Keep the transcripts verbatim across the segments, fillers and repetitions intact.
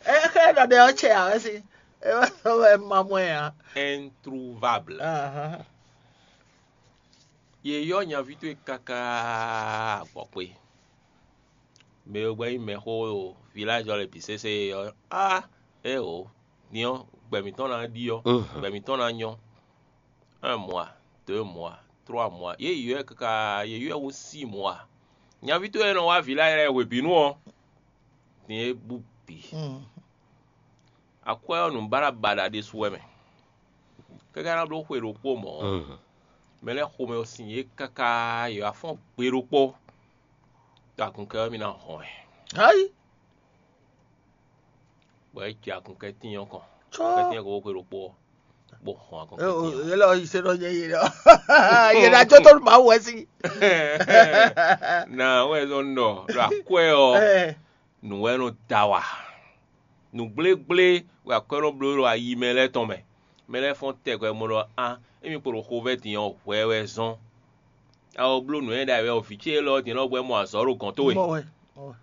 Ɛ xlɛ́ ɖɔ ɖe ɔ́ cɛ ǎ wɛ sín. É wá sɔ́ wɛ ma mɔ ɛ ǎ. Introuvable. Yě yɔ́ nyaví towe káká gbɔ̌kpé. Mɛ e gbɛ́ nyí mɛxó ɖo vilájɔ lɛ́ɛ bǐ sésé ɔ́, á é o, din ɔ́, gbɛ mǐtɔn ná ɖi ɔ́, gbɛ mǐtɔn ná nyɔ́. Un mois, deux mois, trois mois, yě ylɔ́ ɛ káká, yě ylɔ́ ɛ hú six mois. Nyaví towe e nɔ wá vilájɔ lɛ́ɛ hwebǐnu ɔ́, din é bú bǐ. Akwɛ́ ɔ́, nǔbáɖabaɖa ɖésú wɛ mɛ. Káká ná bló xwe ɖokpó mɔ̌ ɔ́, mɛ lɛ́ɛ xomɛ ɔ́ sin yě káká, yě wá fɔ́n gbe ɖokpó. Ɖo agunkɛ́ ɔ́, mì ná hɔn ɛ. Ayi. Bɔ é jɛ agunkɛ́tín ɔ́ kɔn. Cɔ́. Agunkɛ́tín ɔ́ ko xwe ɖokpó ɔ́, bó hɔn agunkɛ́tín ɔ́. Yě lɔ yi se ɖɔ nyɛ yě lɔ. Yě ná jó tó Mawu wɛ sí. Na wɛ zɔn ɖɔ ɖo akwɛ́ ɔ́, nǔ wɛ nɔ da wa. Nǔgblégblégbé wɛ akwɛ́ nɔ bló ɖo ayi mɛ lɛ́ɛ tɔn mɛ. Mɛ lɛ́ɛ fɔ́n tɛgbɛ mɔ ɖɔ á, émí kpo ɖo xovɛ́ din ɔ́, hwɛ wɛ zɔ́n. A ko bló nǔ e ɖ'ayǐ wɛ ɔ́, vǐ ce élɔ́ din nɔ gbɛ́ mɔ azɔ̌ ɖo gɔ̌n towe.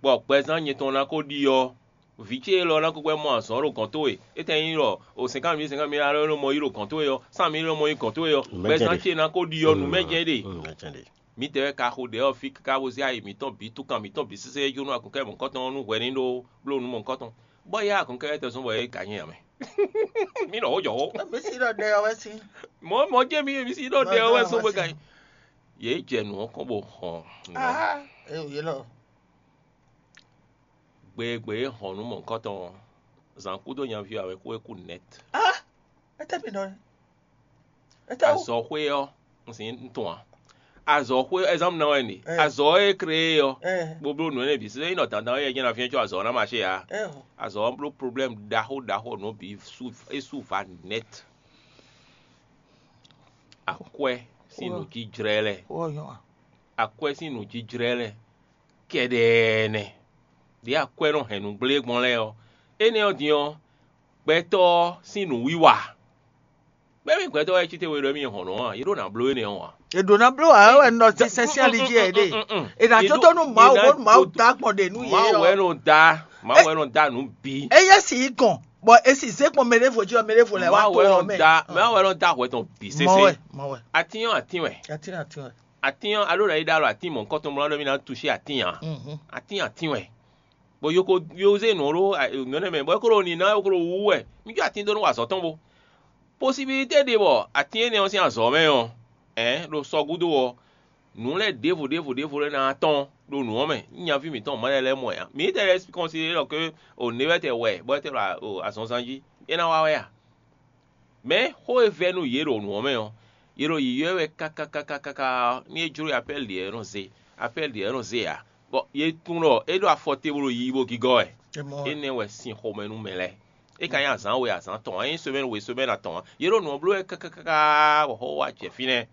Bɔ gbɛzán nyɛ tɔn ná ko ɖi ɔ́, vǐ ce élɔ́ ná ko gbɛ́ mɔ azɔ̌ ɖo gɔ̌n towe. Étɛ́ nyí ɖɔ o sɛnkan mǐ sɛnkan mǐ alɔ nɔ mɔ yí ɖo gɔ̌n towe ɔ́, sán mǐ nɔ mɔ yí gɔ̌n towe ɔ́, gbɛzán ce ná ko ɖi ɔ́, nǔ mɛ jɛ́n ɖe. Mǐtɛɛ wɛ ka xo ɖɛ ɔ́ fí káká bó zé ayi mǐtɔn bǐ túkan mǐtɔn bǐ sésé jónú agunkɛ́ mɔ̌hunkɔtɔn ɔ́ nú hwɛ ní ɖó bló nǔ mɔ̌hunkɔtɔn. Bɔ yá agunkɛ́ tɛ́ zɔ́n bɔ é ka nyí ǎ mɛ. Mí nɔ xó jɔ xó. Mí sí ɖɔ ɖɛ ɔ́ wɛ sín. Mɔ̌ mɔ̌ jɛ́n mí mí sí ɖɔ ɖɛ ɔ́ wɛ sɔ́ bó ka nyí. Yě jɛ nǔ ɔ́ kɔn bó hɔn nǔ ɔ́. Ée yě lɔ. Gbe e gbe é hɔn nǔ mɔ̌hunkɔtɔn ɔ́, zǎn kúdó nyaví ɔ́ wɛ kú é kú nɛt. Étɛ́ mi nɔ ɛ? Étɛ́ wú? Azɔ̌xwé ɔ́, un sin un tunwun ǎ. Azɔ̌xwé ɛzánmu ná wɛ nǐ. Azɔ̌ e krée ɔ́, bó bló nǔ énɛ́ bǐ sésé nyí ɖɔ dandan é jɛ́n ná fínɛ́ có azɔ̌ ɔ́ ná maṣé ǎ. Azɔ̌ ɔ́ bló problème ɖaxó ɖaxó nǔ bǐ sú é sú va nɛt. Akwɛ́ sín nǔjíjlɛ́ lɛ́ɛ. Akwɛ́ sín nǔjíjlɛ́ lɛ́ɛ kɛɖɛɛ nɛ́. Ɖě akwɛ́ nɔ hɛn nǔ gblé gbɔn lɛ́ɛ ɔ́, énɛ́ ɔ́ din ɔ́, gbɛtɔ́ ɔ́ sín nǔwiwa. Gbɛ́mí gbɛtɔ́ wɛ cí te we ɖɔ émí hɔn nɔ ɔ́, yě ɖo nǎ bló énɛ́ ɔ́ ǎ. È ɖǒ ná bló ǎ wɛ nɔ sínsɛ́n sín ali jí ɛ ɖe. È nǎ jó tó nú Mawu bónú Mawu dó akpɔn ɖe nú yě Mawu wɛ ɔ́. Nɔ da Mawu wɛ nɔ da nǔ bǐ. Eye si yi gɔn, bɔ e si zé gbɔn mɛ ɖěvo jí ɔ, mɛ ɖěvo lɛ wá Mawu to wɛ ɔ nɔ mɛ. Da Mawu wɛ nɔ da hwɛ tɔn bǐ Mɔ sésé. Wɛ, mɔ wɛ. Atín ɔ́ atín wɛ. Atín atín wɛ. Atín ɔ́, alo ɖo yi ɖo alɔ atín mɔ̌hunkɔtɔn mlɔ́ ɖɔ mì ná tuṣé atín ǎ. Atín atín wɛ. Bɔ yo ko yo zé nǔ ɖó nǔ énɛ́ mɛ, bɔ é ko ɖo nǐ ná é ko ɖo wú wɛ. Mí jó atín dó nú wa azɔ̌ tɔn bó. Posibilité ɖe bɔ atín énɛ́ ɔ́ sín azɔ̌ mɛ ɔ́, ɛ̌, ɖo sɔ gúdo ɔ́, nǔ lɛ́ɛ ɖěvo ɖěvo ɖěvo lɛ́ɛ ná tɔ́n ɖo nǔ ɔ́ mɛ, nú nyaví mǐtɔn mɔ̌ lɛ́ɛ lɛ́ɛ mɔ ɛ ǎ. Mǐ tɛ lɛ́ɛ kɔnsidéɖɔ ké o nɛ̌ wɛ tɛ wɛ bɔ é tɛ ɖo azɔnzán jí, é ná wá wɛ a? Mɛ̌ xó e vɛ́ nú yě ɖo nǔ ɔ́ mɛ ɔ́, yě ɖo yǐyɔ́ ɛ wɛ káká káká káká ɔ́, ní é jló yi apɛ́li ɖě ɔ́ nɔ zé, apɛ́li ɖě ɔ́ nɔ zé ǎ. Bɔ yě tunwun ɖɔ é ɖo afɔ te bó ɖo yiyi bó gígɔ́ wɛ. Énɛ́ wɛ sin xomɛ nú mɛ lɛ́ɛ. É ka nyí azǎn we azǎn tɔn, é nyí semɛ́ni we semɛ́ni atɔn ǎ. Yě ɖo nǔ ɔ́ bló wɛ káká káká bɔ xó wá jɛ fínɛ́.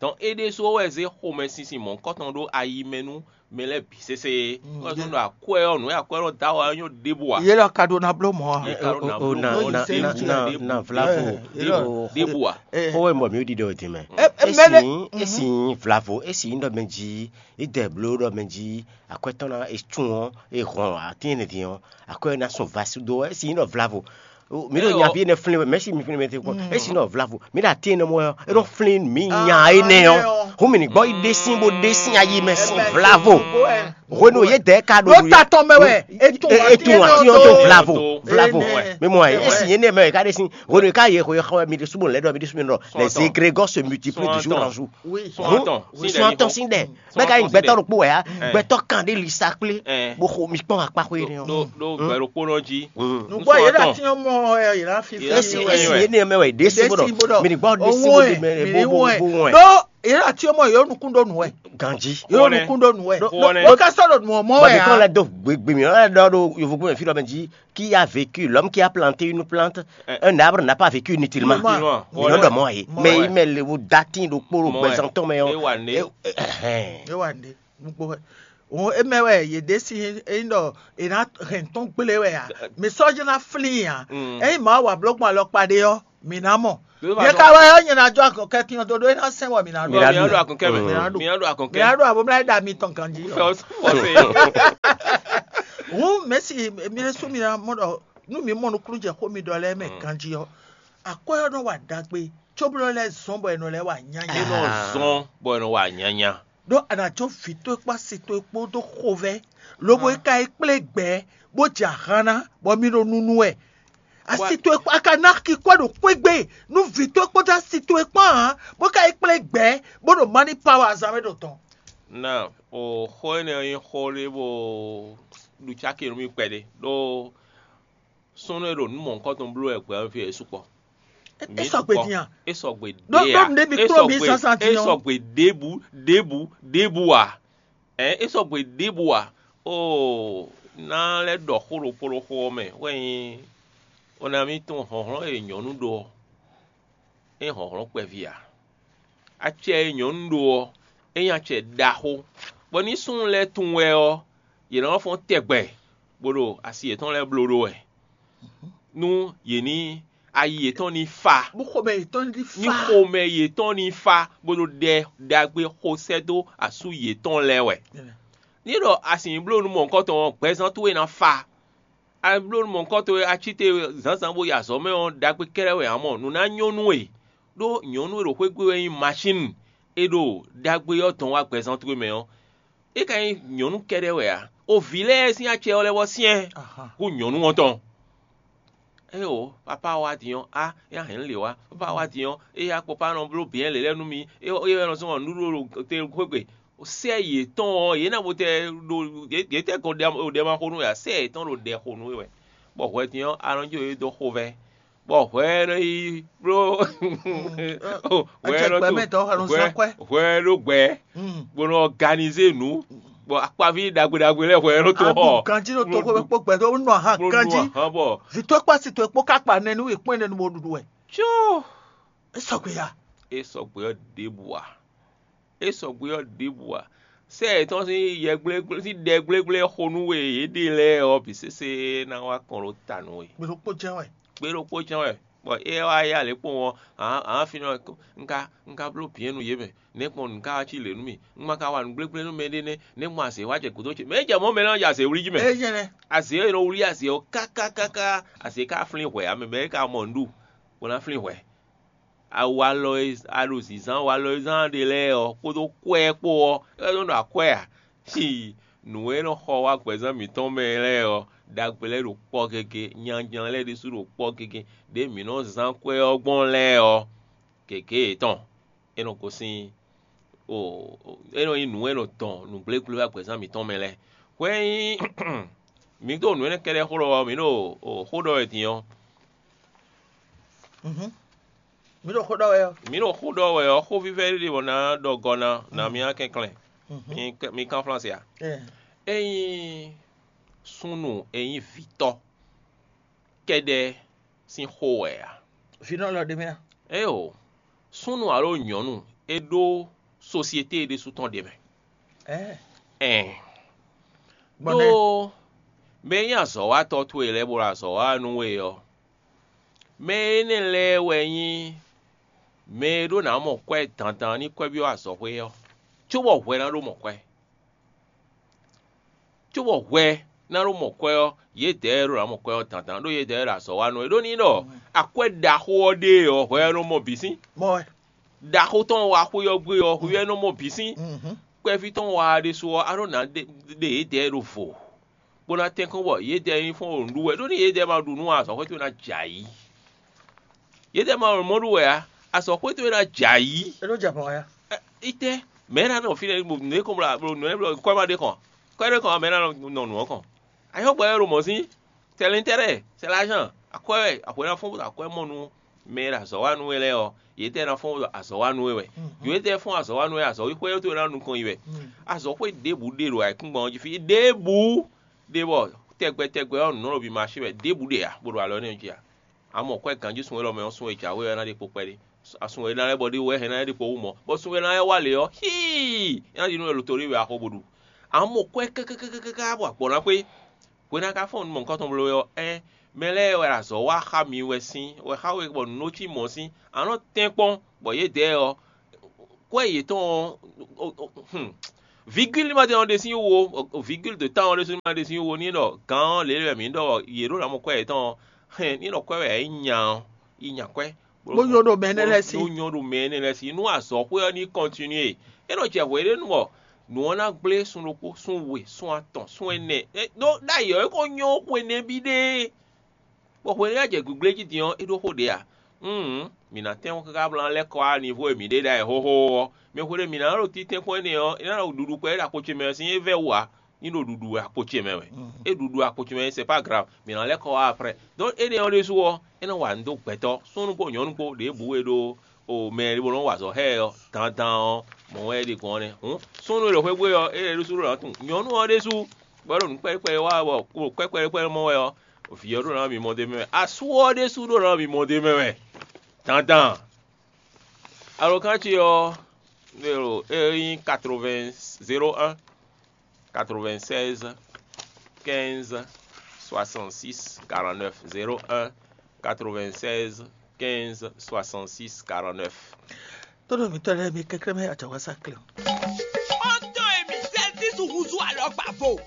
Dɔn é ɖésú wɛ zé xomɛsinsin mɔ̌hunkɔtɔn ɖó ayi mɛ nú mɛ lɛ́ɛ bǐ sésé. Wɛ zɔ́n ɖɔ akwɛ́ ɔ́, nǔ e akwɛ́ nɔ da wɛ ɔ́ nyɔ́ ɖěbǔ ǎ. Yě lɔ ka ɖó ná bló mɔ̌ a? Yě ka ɖó ná bló mɔ̌. Ná ná ná ná vlavo. Ɖěbǔ ǎ. Xó wɛ mɔ mǐ ɖiɖɔ din mɛ. Esi esi vlavo esi nyí ɖɔ mɛ jí, idɛ bló ɖɔ mɛ jí, akwɛ́ tɔn ná e tún ɔ́, e hɔn atín ɛnɛ din ɔ́, akwɛ́ ná sɔn va sú dó esi nyí ɖɔ vlavo. Mi ɖo nyaví énɛ́ flín wɛ, mɛ̌si mi flín mɛ te kpɔ́n. Esi nɔ vlavo, mi ɖo atín énɛ́ mɔ ɔ́, é nɔ flín mi nya énɛ́ ɔ́. Hǔn mi ní gbɔ yi ɖe sín bó ɖe sín ayi mɛ sín vlavo. Hwenu yě dɛ ka ɖo ɖo ta tɔn mɛ wɛ. Etun atín ɔ́ tó vlavo vlavo. Mi mɔ ɛ, esi yě nɛ mɛ ká ɖe sín. Hwenu ka yě xɔ mi ɖe súnmọ́ lɛ ɖɔ mi ɖe súnmọ́ ɖɔ les égrégores se multiplient de jour en jour. Sɔn atɔn sín dɛ. Mɛ ka nyí gbɛtɔ́ ɖokpó wɛ ya, gbɛtɔ́ kan ɖé lisa kplé, bó xo mi kpɔn akpa xó énɛ́ ɔ́. Ɖó gbɛ ɖokpó nɔ jí. Nǔgbó yě ɖo atín ɔ́ mɔ ɛ yě ná fi fí. Esi esi yé ní mɛ wɛ ɖé sí bó ɖɔ mi ní gbɔ ɖé sí bó ɖe mɛ bó bó bó wɛ. Ɖó yě ɖo atín ɔ́ mɔ yě nukún ɖó nǔ wɛ. Ganji. Yě nukún ɖó nǔ wɛ. Ɖó ká sɔ́ ɖo nǔ ɔ́ mɔ wɛ. Bɔbí kɔn lɛ dó gbegbe mi lɛ ɖɔ ɖo yovogbó mɛ fí ɖɔ mɛ jí, qui a vécu, l'homme qui a planté une plante, un arbre n'a pas vécu inutilement. Mi nɔ ɖɔ mɔ yé. Mais il me le datin ɖokpó ɖo gbɛzan tɔn mɛ ɔ́. É wà ní. Nukpó wɛ. Òun é mɛ wɛ yě ɖe sín é nyí ɖɔ è nǎ hɛn tɔn gblé wɛ ǎ. Mi sɔ́ jɛ́n ná flín ǎ. Ényí mǎ wa bló gbɔn alɔkpa ɖé ɔ́, mǐ ná mɔ. Nyɛ ka wɛ ɔ́, nyɛ ná jó akɔkɛ́tín ɔ́ dó ɖó é ná sɛn wɔ mǐ ná ɖu. Mi ná ɖu akɔnkɛ mɛ. Mi ná ɖu. Mi ná ɖu abo mlá é ɖa mi tɔn ganjí. Fɛ ɔ fɔ se. Hǔn mɛ̌si mi ɖésú mi ná mɔ ɖɔ nú mi mɔ nukúnnú jɛ xó mi ɖɔ lɛ́ɛ mɛ ganjí ɔ́, akwɛ́ ɔ́ nɔ wa ɖagbe cóbɔ lɛ́ zɔ́n bɔ è nɔ lɛ́ wa nyanya. Nɔ zɔn bɔ è nɔ wa nyanya. Ɖó a nǎ jó vǐ towe kpó asi towe kpó dó xovɛ́, lobo é ka yi kplé gbɛ̌ bó jɛ ahan ná, bɔ mi ɖo nunu wɛ. Asi towe kpó a ka ná xixwɛ ɖo xwé gbe nú vǐ towe kpódó asi towe kpán ǎ, bó ka yi kplé gbɛ̌ bó ɖo mani pawa azǎn mɛ ɖo dɔn. Na o xó énɛ́ ɔ́ nyí xó ɖé bó ɖu cáki nú mì kpɛɖé ɖó súnnu e ɖo nǔ mɔ̌hunkɔtɔn bló wɛ gbɛ̌ ɔ́ fí é sukpɔ́. É sɔgbe din a? É sɔgbe ɖó ɖó nǔɖé mi kplɔ́n mi zǎnzǎn din ɔ́. É sɔgbe ɖěbǔ ɖěbǔ ɖěbǔ ǎ. Ɛ̌ é sɔgbe ɖěbǔ ǎ. Oo, ná lɛ́ ɖɔ xó ɖokpó ɖó xó ɔ́ mɛ wɛ nyí onaví tɔn hlɔ̌nhlɔ́n e nyɔ̌nu ɖó ɔ́, é nyí hlɔ̌nhlɔ́n kpɛví ǎ. Acɛ e nyɔ̌nu ɖó ɔ́, é nyí acɛ ɖaxó, bɔ ní súnnu lɛ́ɛ tunwun wɛ ɔ́, yě ná fɔ́n tɛgbɛ, bó ɖo asi yětɔn lɛ́ɛ bló ɖó wɛ, nú yě ní ayi yětɔn ní fa, bó xomɛ yětɔn ní ní fa. Xomɛ yětɔn ní fa, bó ɖo ɖɛ ɖagbe xo sɛ́ dó asú yětɔn lɛ́ɛ wɛ. Ní ɖɔ a sǐ bló nú mɔ̌hunkɔtɔn ɔ́, gbɛzán towe ná fa. A bló nú mɔ̌hunkɔtɔn e a cí te zǎnzǎn bó yi azɔ̌ mɛ ɔ́, ɖagbe kɛ́ɖɛ́ wɛ ǎ mɔ, nǔ ná nyɔ́ nú we. Ɖó nyɔ̌nu e ɖo xwé gbe wɛ nyí masín e ɖo ɖagbe ɔ́ dɔn wá gbɛzán towe mɛ ɔ́, é ka nyí nyɔ̌nu kɛ́ɖɛ́ wɛ ǎ. O vǐ lɛ́ɛ sín acɛ ɔ́ lɛ́ vɔ syɛ́n hú nyɔ̌nu ɔ́ tɔn. Éeǒ, papá wá din ɔ́, á, é ná hɛn nǔ lě wá. Papá wá din ɔ́, é yá kpɔ́ pá nɔ bló bǐ lě lɛ́ɛ nú mi. É é wɛ nɔ zɔ́n nǔɖuɖu ɖo te xwé gbe. Sɛ́ yětɔn ɔ́, yě ná bo tɛ ɖo yě tɛ gɔn ɖɛ ma xo nú wɛ ǎ. Sɛ́ yětɔn ɖo ɖɛ xo nú we wɛ. Bɔ hwɛ din ɔ́, a nɔ jó yě dó xovɛ́. Bɔ hwɛ nɔ yi bló hwɛ nɔ to hwɛ hwɛ ɖó gbɛ bó nɔ ɔganizé nǔ, bɔ akpaví ɖagbe ɖagbe lɛ́ɛ hwɛ nɔ to xɔ. Aɖu ganjí ɖo toxo kpó gbɛdó nɔ ahan ganjí. Bɔ vǐ towe kpó asi towe kpó ka kpa nɛ nú wěkpɔ́n énɛ́ nu bo ɖuɖu wɛ. Có é sɔgbe ya. É sɔgbe ɔ́ ɖěbǔ ǎ. É sɔgbe ɔ́ ɖěbǔ ǎ. Sɛ́ yětɔn sín yɛ gblégblé sín ɖɛ gblégblé xo nú we yě ɖe lɛ́ɛ ɔ́ bǐ sésé ná wá kɔn ɖó ta nú we. Gbe ɖokpó jɛ́n wɛ. Gbe ɖokpó jɛ́n wɛ, bɔ é wá yá lě kpɔ́n ɔ́, ǎ ǎ fínɛ́ ɔ́, un ka un ka bló bǐ nú yě mɛ, nɛ̌ gbɔn nǔ ka wá cí lě nú mì? Un ma ka wa nǔ gblégblé nú mɛɖé nɛ́, nɛ̌ gbɔn azě wá jɛ gǔdo ce? Mɛ é jɛ mɔ̌ mɛ lɛ́ɛ ɔ́ jɛ azě wlí jí mɛ. É jɛ́n nɛ́. Azě e nɔ wlí azě ɔ́ káká káká, azě ka flín hwɛ̌ ǎ, mɛ mɛ é ka mɔ nǔ ɖu, bó ná flín hwɛ̌. Awu alɔ e a ɖo zǐnzán awu alɔ e zán ɖe lɛ́ɛ ɔ́ kpódó kwɛ́ kpó ɔ́, é nɔ ɖo akwɛ́ ǎ. Nǔ e nɔ xɔ wá gbɛzán mǐtɔn mɛ lɛ́ɛ ɔ́, ɖagbe lɛ́ɛ ɖo kpɔ́ gégé, nyanjlan lɛ́ɛ ɖésú ɖo kpɔ́ gégé, ɖěe mǐ nɔ zán kwɛ́ ɔ́ gbɔn lɛ́ɛ ɔ́, gěgé yětɔn é nɔ gosín o é nɔ nyí nǔ e nɔ dɔn nǔgblégblé wá gbɛzán mǐtɔn mɛ lɛ́ɛ. Hwɛ nyí mǐ ɖo nǔ énɛ́ kɛ́ɖɛ́ xó ɖɔ ɔ́, mǐ ɖo xó ɖɔ wɛ din ɔ́, Mhm. Mǐ ɖo xó ɖɔ wɛ ɔ́. Mǐ ɖo xó ɖɔ wɛ ɔ́, xó vívɛ́ ɖé ɖe bɔ ná ɖɔ gɔ́ ná ná mì ná kɛnklɛ́n. Mhm. Mi kɛ- mi kán flánse a? Ɛ. Ényí súnnu e nyí vǐtɔ́ kɛ́ɖɛ́ sín xó wɛ a? Vǐnɔ lɔ ɖe mɛ a? Éeǒ, súnnu alo nyɔ̌nu e ɖó sosiete e ɖésú tɔn ɖe mɛ. Ɛ. Ɛn. Gbɔn nɛ́. Ɖó mɛ e nyí azɔ̌watɔ́ towe lɛ́ɛ bó ɖo azɔ̌ wa nú we ɔ́, mɛ énɛ́ lɛ́ɛ wɛ nyí mɛ e ɖó ná mɔ kwɛ́ dandan ní kwɛ́ byɔ́ azɔ̌xwé ɔ́, cóbɔ hwɛ ná ɖó mɔ kwɛ́. Cóbɔ hwɛ ná ɖó mɔ kwɛ́ ɔ́, yědɛɛ ɖó ná mɔ kwɛ́ ɔ́ dandan, ɖó yědɛɛ ɖo azɔ̌ wa nú we. Ɖó ní ɖɔ akwɛ́ ɖaxó ɔ́ ɖe ɔ́, hwɛ ɔ́ nɔ mɔ bǐ sín. Mɔ wɛ. Ɖaxó tɔn wa xwé ɔ́ gbé ɔ́, hwɛ ɔ́ nɔ mɔ bǐ sín. Mhm. Kpɛví tɔn wa ɖésú ɔ́, á ɖó ná ɖe ɖe yědɛɛ ɖo vo, bó ná tɛ́nkɔ́n bɔ yědɛɛ nyí fɔ́n ɖo nǔ ɖu wɛ, ɖó ní yědɛɛ ma ɖu nǔ ǎ, azɔ̌xwé towe ná jɛ ayǐ. Yědɛɛ ma ɖo mɔ̌ ɖu wɛ ǎ, azɔ̌xwé towe ná jɛ ayǐ. É nɔ jɛ mɔ̌ wɛ. Ɛ, itɛ́, mɛ̌ ná nɔ fínɛ́ bɔ nǔ e kɔn bɔ nǔ e blɔ kɔ́ ma ɖe kɔn, kɔ́ ɖe kɔn mɛ ná nɔ nǔ ɔ́ kɔn. Ayɔ́gbɔ wɛ ɖo mɔ̌ sín, c'est l'intérêt, c'est l'argent, akwɛ́ wɛ, akwɛ́ ná fɔ́n bó ɖo akwɛ́ mɔ nú mɛ e ɖo azɔ̌ wa nú we lɛ́ɛ ɔ́, yě tɛ́ ná fɔ́n azɔ̌ wa nú we wɛ. Yě tɛ́ fɔ́n azɔ̌ wa nú we, azɔ̌ xwé ɔ́ towe ná nukɔn yi wɛ. Azɔ̌ xwé ɖěbǔ ɖe ɖo ayǐkúngban ɔ́ jí fí, ɖěbǔ ɖe bɔ tɛgbɛ tɛgbɛ ɔ́ nǔ nɔ ɖo bǐ ma sí wɛ, ɖěbǔ ɖe ǎ, bó ɖo alɔ nɛ́ jí ǎ. A mɔ kwɛ́ ganjí sun élɔ́ mɛ ɔ́, sun e jǎwe ɔ́ ná ɖe kpo kpɛɖé. Sun e ná lɛ́ bɔ ɖé wɛ hɛn ná lɛ́ ɖe kpo wú mɔ̌, bɔ sun e ná lɛ́ wa lě ɔ́, híi, é ná ɖi nú wɛ lotoɖé wɛ a xo bó ɖu. A mɔ kwɛ́ kákákákáká bɔ agbɔ̌ ná xwé. Hwe ná ka fɔ́n nǔ mɔ̌hunkɔtɔn bló wɛ ɔ́, ɛ́n mɛ lɛ́ɛ wɛ azɔ̌ wa xá mi wɛ sín, wɛ xá we bɔ nǔ nɔ cí mɔ̌ sín. A nɔ tɛ́nkpɔ́n bɔ yědɛɛ ɔ́, kwɛ́ yětɔn ɔ́, hun, Vigíli ma jɛ ɔ́ ɖe sín wo, vigíli de tan ɔ́ ɖe sín ma ɖe sín wo ní ɖɔ gǎn ɔ́ lě lɛ́ɛ mǐ ɖɔ yě ɖo ná mɔ kwɛ́ yětɔn ɔ́, hɛn ní ɖɔ kwɛ́ wɛ é nya ɔ́, yi nya kwɛ́. Bó nyɔ́ ɖo mɛ énɛ́ lɛ́ɛ sí. Bó nyɔ́ ɖo mɛ énɛ́ lɛ́ɛ sí. Nú azɔ̌xwé ɔ́ ní kɔntinué. É nɔ jɛ hwě ɖé nu ɔ́, nǔ ɔ́ ná gblé sun ɖokpó, sun we, sun atɔn, sun ɛnɛ. Ɖó ɖ'ayǐ ɔ́, é ko nyɔ́ xwe nɛ́ bí ɖé. Bɔ hwenu e é jɛ gbígbléjí din ɔ́, é ɖó xó ɖě ǎ. Hǔn, mǐ ná tɛ́n káká bló ná lɛ́ kɔ wá nivo e mǐ ɖe ɖ'ayǐ xóxó ɔ́. Mɛ hwenu e mǐ ná ɖo títɛ́nkpɔ́n énɛ́ ɔ́, é ná ɖo ɖuɖu kpɛɖé ɖo akpo ce mɛ ɔ́ sín é vɛ́ wú ǎ. Ní ɖo ɖuɖu akpo ce mɛ wɛ. É ɖuɖu akpo ce mɛ, c'est pas grave. Mǐ ná lɛ́ kɔ wá après. Donc énɛ́ ɔ́ ɖésú ɔ́, é nɔ wa nǔ dó gbɛtɔ́, súnnu kpó nyɔ̌nu kpó, ɖěbǔ e ɖo o mɛ e bó nɔ́ wa azɔ̌ xá ɛ ɔ́, dandan ɔ́, mɔ̌ wɛ é ɖe gbɔn ɔ́ nɛ́. Hǔn súnnu e ɖo xwé bú é ɔ́, é ɖésú ɖo ná tunwun nyɔ̌nu ɔ́ ɖésú, bɔ é ɖo nǔ kpɛ́ɖé kpɛ́ɖé wa wɛ, bɔ kpɛ́ kpɛ́ɖé kpɛ́ɖé mɔ wɛ ɔ́, vǐ ɔ́ ɖo ná mimɔ d'é mɛ wɛ. Asú ɔ́ ɖésú ɖo ná mimɔ d'é mɛ wɛ. Dandan. Alɔkán ce ɔ́, é ɖo é nyí quatre-vingts zéro un quatre-vingt-seize quinze soixante-six quarante-neuf, zéro un quatre-vingt-seize quinze soixante-six quarante-neuf. Tónú mi tɔ́ lɛ́ɛ mi kɛ́kɛ́ mɛ àjàwásá klɛ́. Ó tó èmi sɛ́sísù húzú alɔgbàvo.